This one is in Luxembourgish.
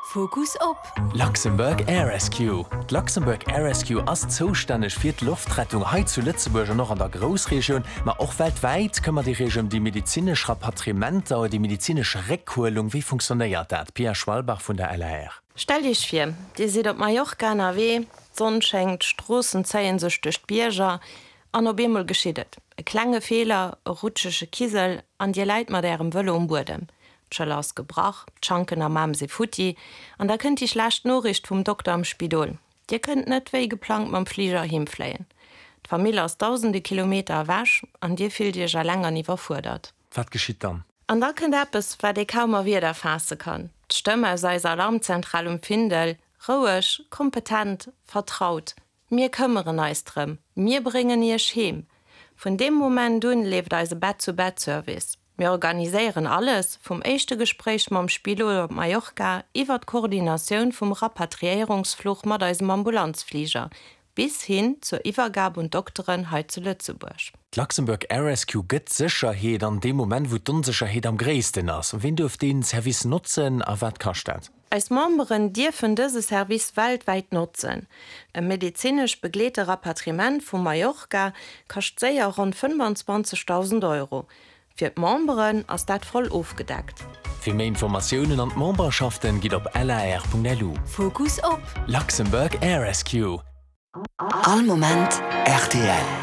Fokus op. Luxembourg Air Rescue. D'Luxembourg Air Rescue ass zoustänneg fir d'Loftrettung hei zu Lëtzebuerg an och an der Groussregioun, ma och weltwäit. Këmmert Dir Iech ëm déi medezinesch Rapatriementer oder déi medezinesch Réckhuelung? Wéi funktionéiert dat? Pia Schwalbach vun der LAR. Stellt Iech vir, Dir sidd op Mallorca ënnerwee, d'Sonn schéngt, d'Stroossen zéien sech duerch d'Bierger an op eemol geschitt et, e klenge Feeler, e rutschege Kisel an Dir läit mat Ärem Vëlo um Buedem. D'Schëller ass gebrach, d'Schanken am Aarm si futti an da kënnt déi schlecht Noriicht vum Dokter am Spidol, Dir kënnt net wéi geplangt mam Fliger heem fléien. D'Famill ass dausende Kilometer ewech an dir fillt iech eleng an iwwerfuerdert. Wat geschitt dann? An da kënnt eppes, wat ee kaum a Wierder faasse kann, d'Stëmm aus eiser Alarmzentral um Findel, roueg, kompetent, vertraut, Mir këmmeren eis drëm, mir bréngen Iech heem. Vun deem Moment un leeft eise Bett-zu-Bett-Service. Mir organiséieren alles, vum éischte Gespréich mam Spidol op Mallorca iwwer d'Koordinatioun vum Rapatriéierungsfluch mat eisem Ambulanzfliger, bis hin zur Iwwergab un d'Dokteren hei zu Lëtzebuerg. D'Luxembourg Air Rescue gëtt Sécherheet an deem Moment, wou d'Onsécherheet am gréissten ass. Ween duerf dee Service notzen a wat kascht dat? Eis Memberen dierfen dëse Service weltwäit notzen. E medezinesch begleete Rapatriement vu Mallorca kascht séier ronn 25.000 Euro. Fir d'Memberen ass dat voll ofgedeckt. Fir méi Informatiounen an d'Memberschaften gitt op lar.lu. Fokus op. Luxembourg Air Rescue. All Moment rtl.